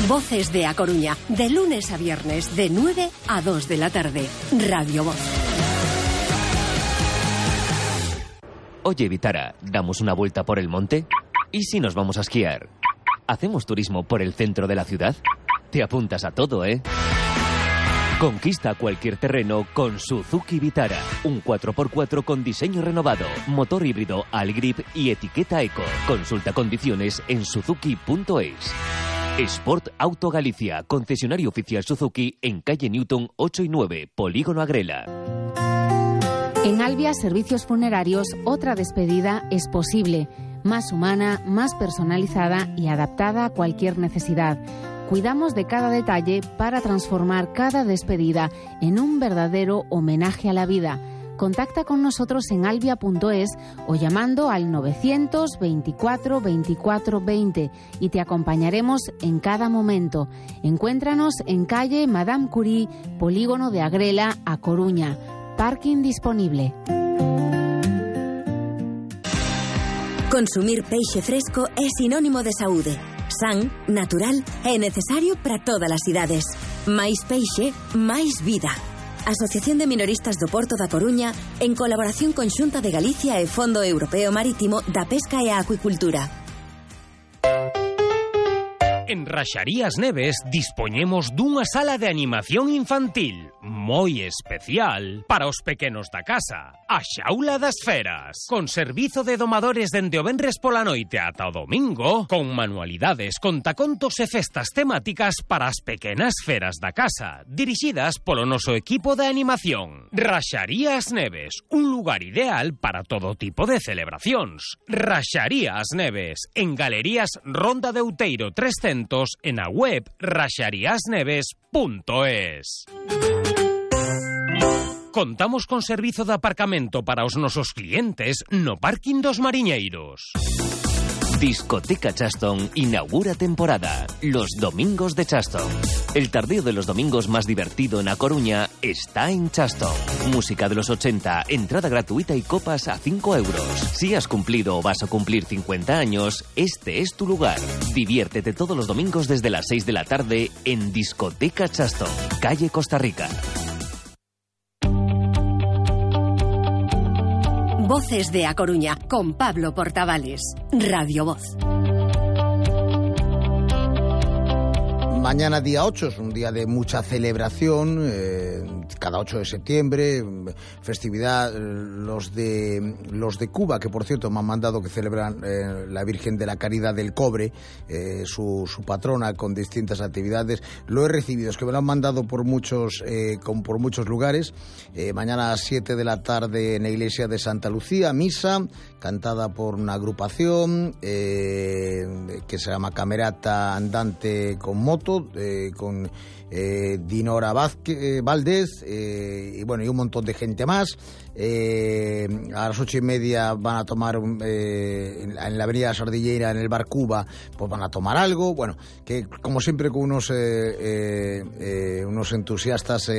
Voces de A Coruña, de lunes a viernes, de 9 a 2 de la tarde. Radio Voz. Oye, Vitara, ¿damos una vuelta por el monte? ¿Y si nos vamos a esquiar? ¿Hacemos turismo por el centro de la ciudad? Te apuntas a todo, ¿eh? Conquista cualquier terreno con Suzuki Vitara. Un 4x4 con diseño renovado, motor híbrido Algrip y etiqueta Eco. Consulta condiciones en suzuki.es. Sport Auto Galicia, concesionario oficial Suzuki en calle Newton 8 y 9, Polígono Agrela. En Albia Servicios Funerarios, otra despedida es posible. Más humana, más personalizada y adaptada a cualquier necesidad. Cuidamos de cada detalle para transformar cada despedida en un verdadero homenaje a la vida. Contacta con nosotros en albia.es o llamando al 924 24 20 y te acompañaremos en cada momento. Encuéntranos en calle Madame Curie, Polígono de Agrela, A Coruña. Parking disponible. Consumir peixe fresco é sinónimo de saúde. San, natural e necesario para todas as idades. Máis peixe, máis vida. Asociación de Minoristas do Porto da Coruña, en colaboración con Xunta de Galicia e Fondo Europeo Marítimo da Pesca e a Acuicultura. En Raxarías Neves dispoñemos dunha sala de animación infantil moi especial para os pequenos da casa. A Xaula das Feras, con servizo de domadores dende o venres pola noite ata o domingo, con manualidades, contacontos e festas temáticas para as pequenas feras da casa, dirixidas polo noso equipo de animación. Raxarías Neves, un lugar ideal para todo tipo de celebracións. Raxarías Neves, en Galerías Ronda de Outeiro 300, en a web raxariasneves.es. Contamos con servizo de aparcamento para os nosos clientes no parking dos Mariñeiros. Discoteca Chaston inaugura temporada. Los domingos de Chaston. El tardeo de los domingos más divertido en A Coruña está en Chaston. Música de los 80, entrada gratuita y copas a 5 euros. Si has cumplido o vas a cumplir 50 años, este es tu lugar. Diviértete todos los domingos desde las 6 de la tarde en Discoteca Chaston, calle Costa Rica. Voces de A Coruña, con Pablo Portavales. Radio Voz. Mañana día 8 es un día de mucha celebración, cada 8 de septiembre, festividad, los de Cuba, que por cierto me han mandado que celebran la Virgen de la Caridad del Cobre, su patrona, con distintas actividades. Lo he recibido, es que me lo han mandado por muchos lugares. Mañana a las 7 de la tarde en la iglesia de Santa Lucía, misa, cantada por una agrupación que se llama Camerata Andante con Moto, con Dinora Valdés y bueno, y un montón de gente más. A las 8:30 van a tomar en la avenida Sardilleira, en el bar Cuba, pues van a tomar algo. Bueno, que como siempre con unos entusiastas,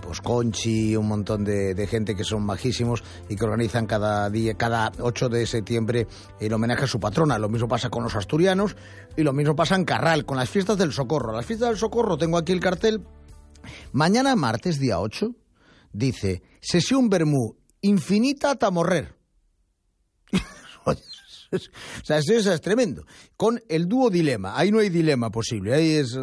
pues Conchi, un montón de gente que son majísimos y que organizan cada 8 de septiembre el homenaje a su patrona. Lo mismo pasa con los asturianos y lo mismo pasa en Carral, con las fiestas del Socorro. Las fiestas del Socorro, tengo aquí el cartel. Mañana martes, día 8, dice, sesión vermú infinita hasta morrer. O sea, eso es tremendo. Con el dúo Dilema, ahí no hay dilema posible, ahí es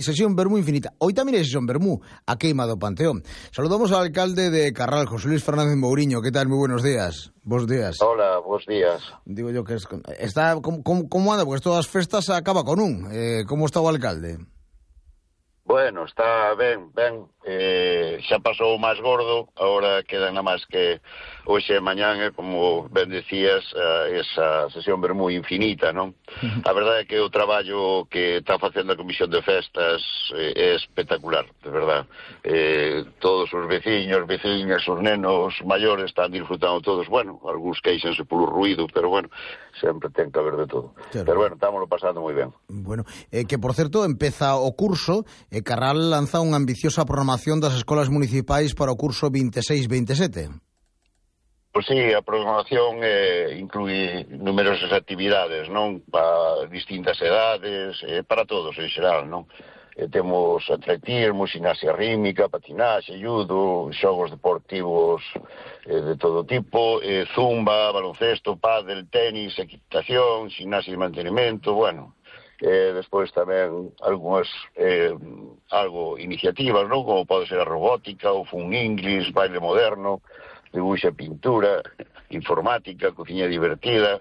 sesión vermú infinita. Hoy también hay sesión vermú, a Queimado Panteón. Saludamos al alcalde de Carral, José Luis Fernández Mouriño. ¿Qué tal? Muy buenos días. Buenos días. Hola, buenos días. Digo yo que está ¿cómo anda? Porque todas las festas se acaba con un. ¿Cómo está o alcalde? Bueno, está ben, xa pasou o máis gordo, agora queda nada máis que hoxe e mañán, como ben decías, esa sesión vermú infinita, non? A verdade é que o traballo que está facendo a Comisión de Festas é espectacular, de verdade. Todos os veciños, veciñas, os nenos maiores están disfrutando todos, bueno, algúns queixanse polo ruído, pero bueno, sempre ten que haber de todo. Claro. Pero bueno, estámoslo pasando moi ben. Bueno, que por certo, empeza o curso, Carral lanza unha ambiciosa programación das escolas municipais para o curso 26-27. Pois sí, a programación inclui numerosas actividades, non? Para distintas edades, para todos en xeral, non? Temos atletismo, gimnasia rítmica, patinaxe, judo, xogos deportivos de todo tipo, zumba, baloncesto, pádel, tenis, equitación, gimnasia de mantenimento, bueno. Despois tamén algunhas iniciativas, non? Como pode ser a robótica, o fun inglés, baile moderno, dibuixo e pintura, informática, cociña divertida,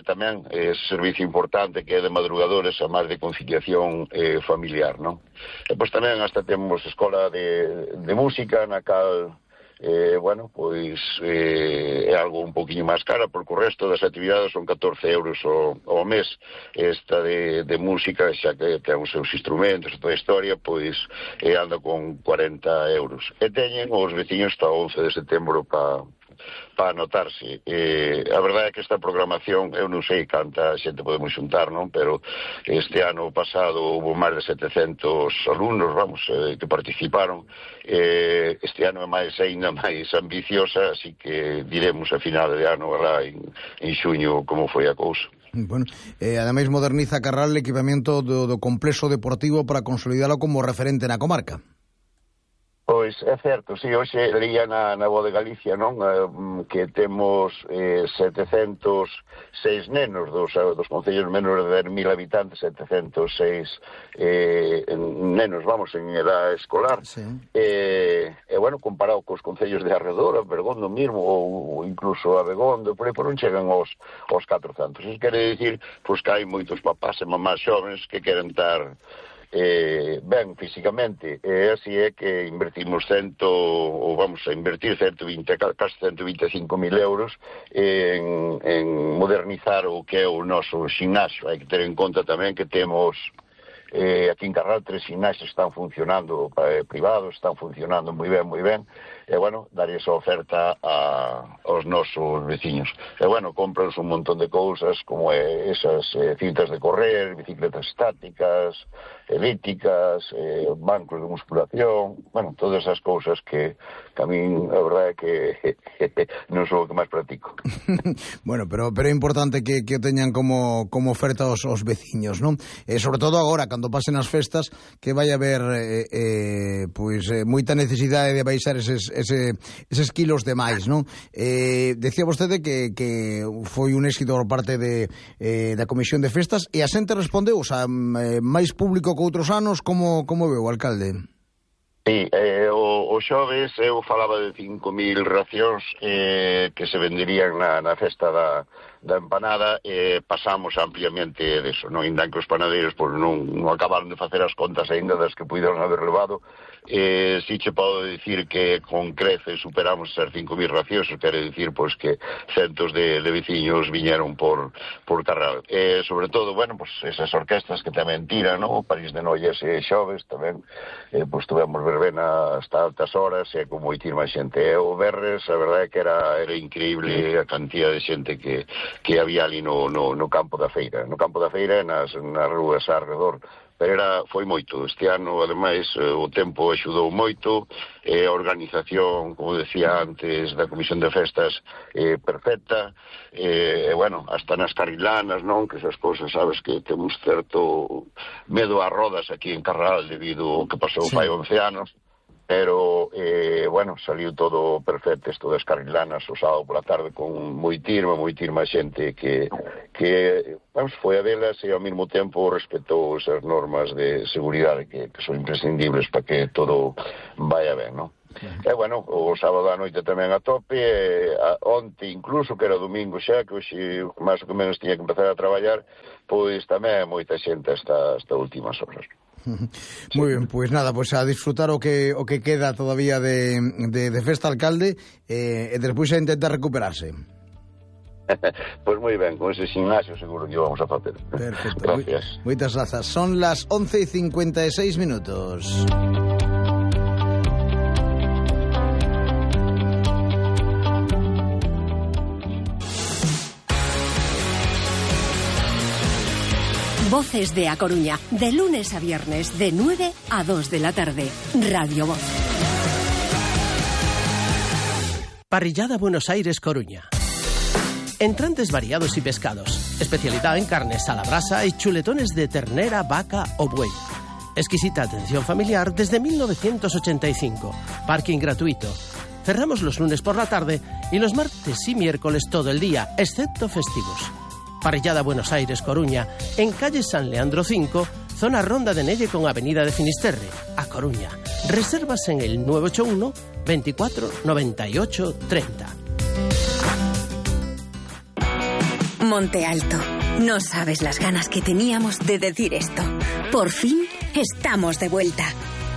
tamén servicio importante que é de madrugadores a máis de conciliación familiar, non? E pois tamén hasta temos escola de música na cal bueno, pois é algo un poquinho máis cara, porque o resto das actividades son 14 euros ao mes. Esta de música, xa que ten os seus instrumentos e toda a historia, pois anda con 40 euros. E teñen os veciños hasta o 11 de setembro para anotarse. A verdade é que esta programación, eu non sei canta xente podemos xuntar, non? Pero este ano pasado houve máis de 700 alumnos, vamos, que participaron. Este ano é ainda máis ambiciosa, así que diremos a final de ano, alá en xuño, como foi a cousa. Bueno, ademais moderniza Carral o equipamento do complexo deportivo para consolidalo como referente na comarca. Pois é certo, sí, hoxe leía na Voz de Galicia, non? Que temos 706 nenos dos concellos menores de 1000 habitantes, 706 nenos, vamos, en edad escolar. Sí. Bueno, comparado cos concellos de arredor, a Bergondo mismo, ou incluso a Begondo, por aí por non chegan aos 400. Iso quere dicir, pois, que hai moitos papás e mamás xóvenes que queren estar ben físicamente, e así é que invertimos vamos a invertir casi 125.000 euros en modernizar o que é o noso ximnasio. Hai que ter en conta tamén que temos aquí en Carral 3 ximnasios están funcionando privados, están funcionando moi ben, e bueno, dar esa oferta aos nosos veciños. E bueno, compranse un montón de cousas como esas cintas de correr, bicicletas estáticas, elípticas, bancos de musculación, bueno, todas esas cousas que a min a verdade é que non son o que máis practico. Bueno, pero é importante que teñan como oferta os veciños, non? Sobre todo agora, cando pasen as festas, que vai haber pois moita necesidade de baixar eses kilos de máis, non? Decía vostede que foi un éxito por parte da Comisión de Festas e a xente respondeu, o sea, máis público que outros anos, como veu, alcalde? Sí, o xoves eu falaba de 5.000 racións que se venderían na festa da empanada, pasamos ampliamente deso, non? Ainda que os panadeiros non acabaron de facer as contas ainda das que puideron haber levado, si che podo dicir que con crece superamos esas 5.000 racións, quere dicir pois que centos de veciños viñeron por Carral. Sobre todo, bueno, pois esas orquestas que tamén tiran, non? París de Noias e xoves tamén, pois tuvemos verbena hasta altas horas e con moitísima xente. O Berres, a verdade é que era increíble a cantidad de xente que había ali no campo da feira. No campo da feira e nas rúas alrededor. Pero foi moito. Este ano, ademais, o tempo axudou moito, a organización, como decía antes, da Comisión de Festas perfecta, bueno, hasta nas carrilanas, non? Que esas cousas, sabes, que temos certo medo a rodas aquí en Carral debido ao que pasou fai 11 anos, pero, bueno, saliu todo perfecto, isto das carrilanas o sábado pola tarde con moitísima xente que vamos, foi a velas e ao mesmo tempo respetou esas normas de seguridade que son imprescindibles para que todo vaya ben, non? E, bueno, o sábado a noite tamén a tope, onte incluso, que era domingo xa, que hoxe máis ou menos tiña que empezar a traballar, pois tamén moita xente hasta últimas horas. Moi ben, pois nada, pois a disfrutar o que queda todavía de festa, alcalde, e despois a intentar recuperarse. Pois moi ben, con ese gimnasio seguro que vamos a facer. Perfecto. Gracias. Moitas grazas. Son las 11:56 minutos. Voces de A Coruña, de lunes a viernes, de 9 a 2 de la tarde. Radio Voz. Parrillada Buenos Aires Coruña. Entrantes variados y pescados. Especialidad en carnes a la brasa y chuletones de ternera, vaca o buey. Exquisita atención familiar desde 1985. Parking gratuito. Cerramos los lunes por la tarde y los martes y miércoles todo el día, excepto festivos. Parrillada Buenos Aires Coruña, en calle San Leandro 5, zona Ronda de Nelle con avenida de Finisterre, a Coruña. Reservas en el 981 24 98 30. Monte Alto. No sabes las ganas que teníamos de decir esto. Por fin estamos de vuelta.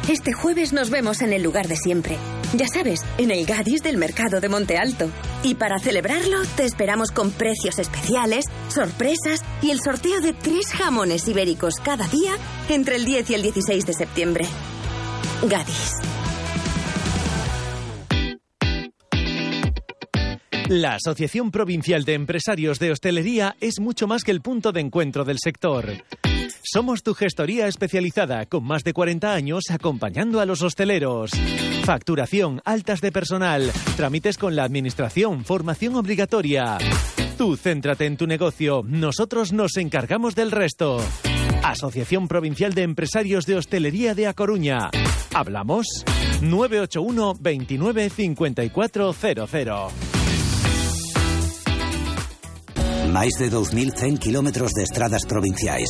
Este jueves nos vemos en el lugar de siempre. Ya sabes, en el Gadis del Mercado de Monte Alto. Y para celebrarlo, te esperamos con precios especiales, sorpresas y el sorteo de 3 jamones ibéricos cada día entre el 10 y el 16 de septiembre. Gadis. La Asociación Provincial de Empresarios de Hostelería es mucho más que el punto de encuentro del sector. Somos tu gestoría especializada, con más de 40 años acompañando a los hosteleros. Facturación, altas de personal, trámites con la administración, formación obligatoria. Tú céntrate en tu negocio, nosotros nos encargamos del resto. Asociación Provincial de Empresarios de Hostelería de A Coruña. ¿Hablamos? 981 29 5400. Máis de 2.100 kilómetros de estradas provinciais.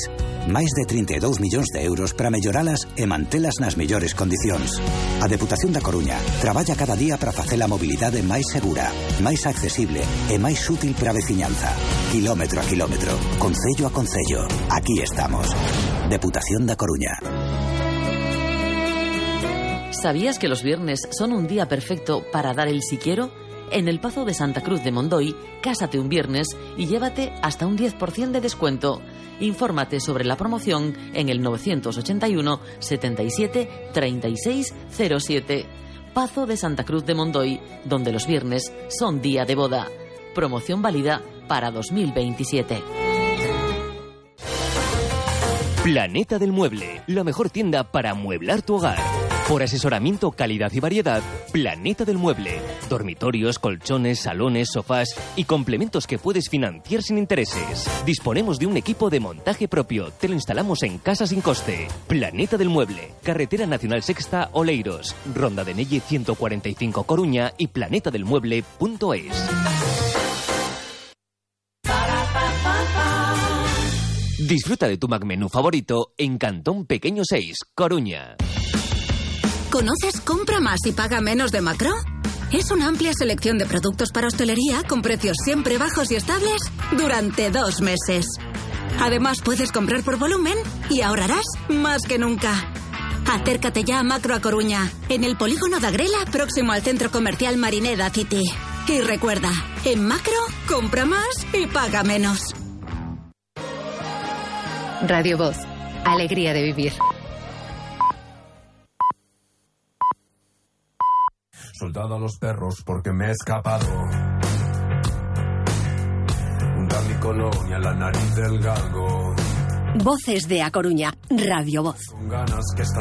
Máis de 32 millóns de euros para melloralas e mantelas nas mellores condicións. A Deputación da Coruña traballa cada día para facer a mobilidade máis segura, máis accesible e máis útil para a veciñanza. Kilómetro a kilómetro, concello a concello. Aquí estamos. Deputación da Coruña. ¿Sabías que los viernes son un día perfecto para dar el si quiero? En el Pazo de Santa Cruz de Mondoy, cásate un viernes y llévate hasta un 10% de descuento. Infórmate sobre la promoción en el 981 77 36 07. Pazo de Santa Cruz de Mondoy, donde los viernes son día de boda. Promoción válida para 2027. Planeta del Mueble, la mejor tienda para amueblar tu hogar. Por asesoramiento, calidad y variedad, Planeta del Mueble. Dormitorios, colchones, salones, sofás y complementos que puedes financiar sin intereses. Disponemos de un equipo de montaje propio. Te lo instalamos en casa sin coste. Planeta del Mueble. Carretera Nacional Sexta, Oleiros. Ronda de Nelle 145 Coruña y planetadelmueble.es. Disfruta de tu McMenú favorito en Cantón Pequeño 6, Coruña. ¿Conoces Compra Más y Paga Menos de Macro? Es una amplia selección de productos para hostelería con precios siempre bajos y estables durante 2 meses. Además, puedes comprar por volumen y ahorrarás más que nunca. Acércate ya a Macro a Coruña, en el polígono de Agrela, próximo al centro comercial Marineda City. Y recuerda, en Macro, compra más y paga menos. Radio Voz. Alegría de vivir. Soltado a los perros porque me he escapado. Juntar mi colonia a la nariz del galgo. Voces de A Coruña, Radio Voz. Con ganas que